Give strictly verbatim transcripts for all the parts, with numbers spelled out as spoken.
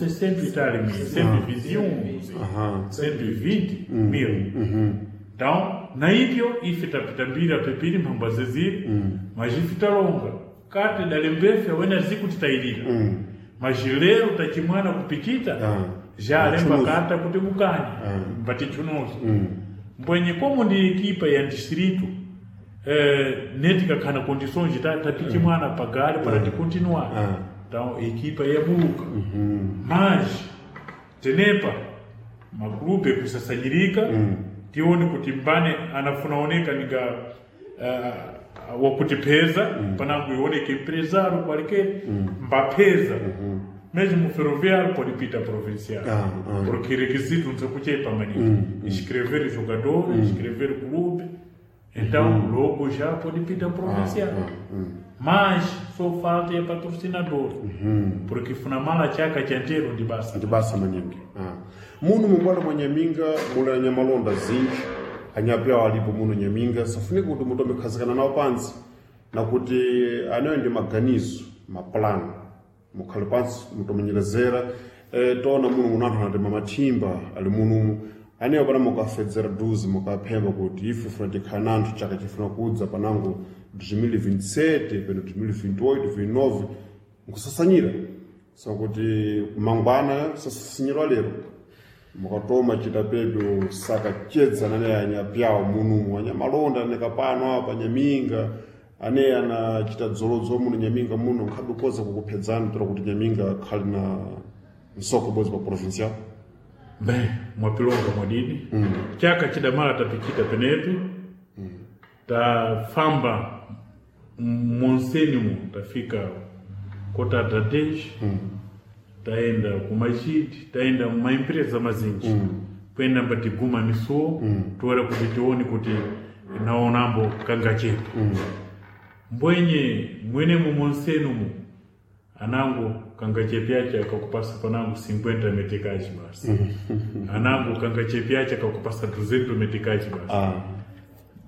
Cento e tal mil, cento e vinte e um, cento e vinte mil. Então, na ipyo ife tapitambira pepiri mphambwa zeziri, mas ife talonga kati dalembefe wena zikutitayirira mas lero tachimwana kupichita Ah. já alemba Chunuzo. kata kuti mukanye mbatichunuzo mbwenye como ndi ekipa ya distrito eh, netikakhala condições ta tapichimwana pagale para ticontinuar Ah. então ekipa yabuka mas tenepa magruphe kusasanyirika tione kuti mbane anafuna oneka ninga uh, wakutipeza panango ioneke empresário qualquer mbapeza mesmo ferroviário pode pita provincial Ah, ah. porque requisito não se kuchepa maningi inscrever jogador inscrever clube então logo já pode pita provincial mas só falta é patrocinador porque funamala chaka chanteiro ndi basa ndi basa maningi ah. Muno mumbwalo mwa Nyaminga muli anyamalonda zinji anyapewa alipo muno Nyaminga safunika kuti mutu amekhazikana nawo pansi na kuti anayo ndi maganizo mapulani mukhale pansi mutomenyerezera e, tona muno muno anthu anatema mathimba ali munumu aneyo pana mukafedzera duzi mukaphemba kuti ife funa tikhala nanthu chaka chifuna kudza panango dois mil e vinte e sete peno dois mil e vinte e oito vinte e nove nkusasanyira sakuti mangwana sasasinyirwa lero mukatoma chita pedyo sakachedza nane anyapyawo munumu anyamalonda anekapano apa Nyaminga ane anachita dzolodzo muno Nyaminga muno nkhabe kukuphedzani tola kuti Nyaminga khali na msoko bodzi pa provincial. Bem, mwapilonga mwadini chaka chidamala tapichita penepi tafamba monsenimo tafika kota tatej taenda kumachiti taenda mumaempresa mazinji kuenda mbatiguma misuwo toera kuti tione kuti naonambo kangachepa mbwenye mwenemo monsenumu anango kangachepe ache akakupasa panango cinquenta meticais basi anango kangachepe ache akakupasa duzentos meticais basi ah,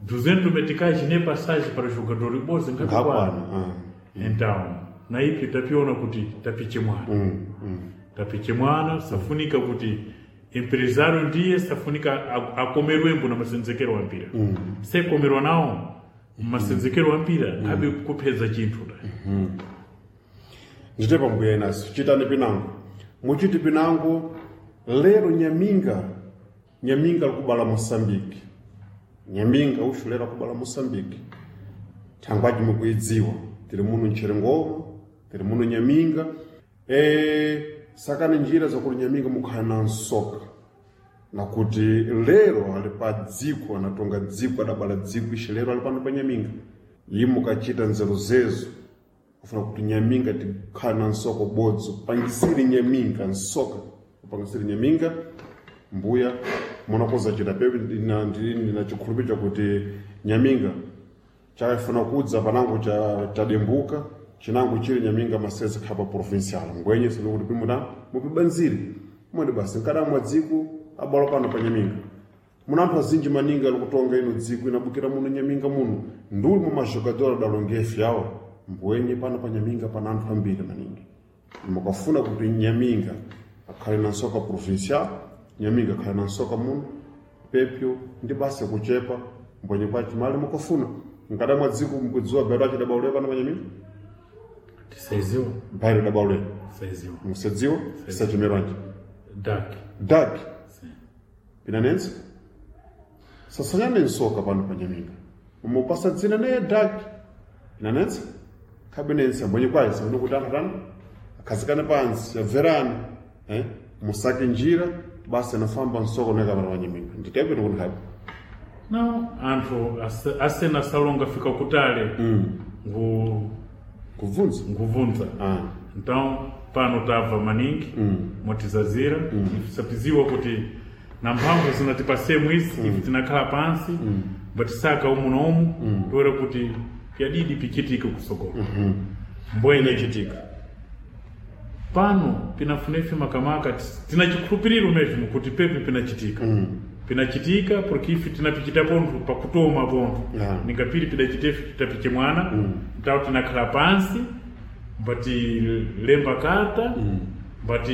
duzentos meticais ne passagem para jogador ibozi ngakwana. Ngakwana ah. Então na ipi tapiona kuti tapiche mwana tapiche mwana safunika kuti empresário ndiye safunika a- akomerwembo na masenzekero wa mpira sekomerwa nawo masenzekero wa mpira ngabe kupheza chinthu da Ndite pambuya inaso chitani pinango muchiti pinango lero Nyaminga Nyaminga likubala Moçambique Nyaminga uxu lero akubala Moçambique thangwaji mukuidziwa tiri muno Mcherengoma tiri muno Nyaminga e, sakani njira zakuti Nyaminga mukhala na nsoka nakuti lero ali pa dziko anatonga dziko adabala dziko ixe lero ali pano pa Nyaminga yi mukachita nzeru zezo kufuna kuti Nyaminga tikhala na nsoko bodzo pangisiri Nyaminga nsoka kupangisiri Nyaminga mbuya munakoza chita pepe ndina ndina chikhulupiriro chakuti Nyaminga chafuna kudza panango cha chadembuka chinango chili Nyaminga masese khapa provincial ngwenye sinokuti pimuta mupibanzire mwandi basi nkadamwa dziko abala pano pa Nyaminga muna anthu azinji maningi ali kutonga ino dziko inabukira muno Nyaminga muno nduli mu majogador adalongefe awo mbwenye pano pa Nyaminga pana anthu ambiri maningi mukafuna kuti Nyaminga akhale na nsoka provincial Nyaminga akhale na nsoka muno pepyo ndi basi kuchepa mbwenye kwachi mali mukafuna nkadamwa dziko mukudziwa bairo achidabaulira pano pa Nyaminga tisaiziwa bairo dabaulira tisaiziwa musadziwa sachimerwanji dak dak pinanenso sasanyane nsoka pano pa Nyaminga umupasa dzina neye dak pinanenso khabenense mbwenye kwayi sakuti kuti anthu atani akhazikane pansi yabverana eh? musake njira basi anafamba nsoko neka pano pa Nyaminga nditepe tikuti khabe não anthu ase- asena salonga fika kutale ngu kubvunza nguvunza ah. então pano tabva maningi motizazira sapiziwa kuti na mphamvu zinatipasemu izi ife tinakhala pansi mbatisaka umu na umu toera kuti pyadidi pichitike kusogolo mbwenye Inachitika pano pinafuna ife makamaka tina chikhulupiriro mesmo kuti pepe pinachitika pinachitika porque ife tinapichita pontho pakutoma pontho Yeah. ningapiri pidachita ife titapiche mwana mm. ntawo tinakhala pansi mbatilemba karta But